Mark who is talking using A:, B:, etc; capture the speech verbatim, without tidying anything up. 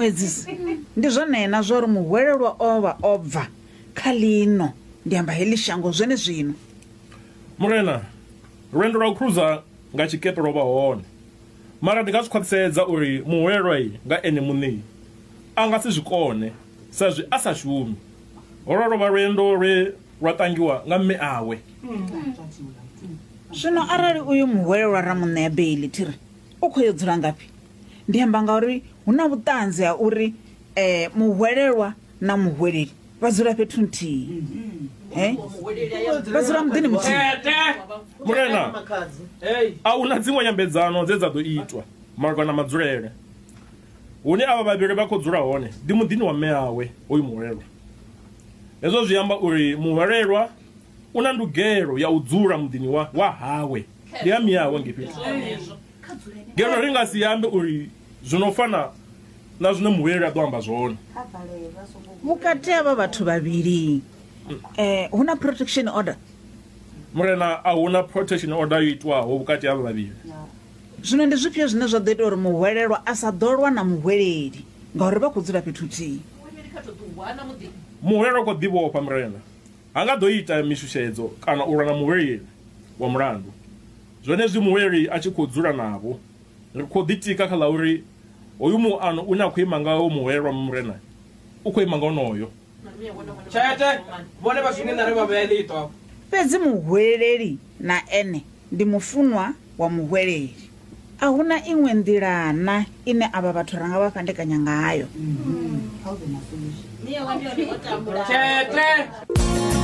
A: Muedzisi, ndi zwone na zwa uri muhwelelwa o vha o bva kha ḽino, ndi amba heḽi shango zwenezwino.
B: Murena, lwendo lwa u khuruza nga tshikepe lwo vha hone. Mara ndi nga zwi khwaṱhisedza uri muhwelelwa nga ene muṋe a nga si zwi kone sa zwi a sa shumi. Holwo lwo vha lwendo lwe lwa tangiwa nga mme awe.
A: Zwino arali uyu muhwelelwa ra mu ṋea beiḽi thiri u khou yo dzula ngafhi? Ndi amba ngauri hu na vhuṱanzi ha uri eh, muhwelelwa na muhweleli vha dzula fhethu nthihi. He? Vha dzula muḓini muthihi.
B: Murena, a huna dziṅwe nyambedzano dze dza ḓo itwa malugana na madzulele. Hune avha vhavhili vha khou dzula hone ndi muḓini wa mme awe hoyu muhwelelwa. Hezwo zwi amba uri muhwelelwa u na ndugelo ya u dzula muḓini wa, wa hawe. Ndi ha miawe ngei fhethu. Ngeno ri nga si ambe uri zwino fana na zwine muhweleli a ḓo amba zwone.
A: Vhukati havha vhathu vhavhili eh, hu na protection order.
B: Murena, a huna protection order yo itwaho vhukati ha vhavhili.
A: Zwino ndi zwifhio zwine zwa ḓo ita uri muhwelelwa a sa ḓo lwa na muhweleli ngauri vha khou dzula fhethu huthihi?
B: Muhwelelwa u khou ḓivhofha murena. Ha nga ḓo ita mishushedzo kana u lwa na muhweleli wa mulandu. Zwenezwi muhweleli a tshi khou dzula navho, ri khou ḓitika kha ḽa uri hoyu muano une a khou ima ngawo muhwelelwa murena u khou ima nga onoyo.
C: Tshete, vhone vha swinge nare vha vhea ḽiṱo afho.
A: Fhedzi muhweleli na ene ndi mufunwa wa muhweleli. A huna iṅwe nḓila na ine avha vhathu ra nga vha fhandekanya ngayo.
C: Tshete.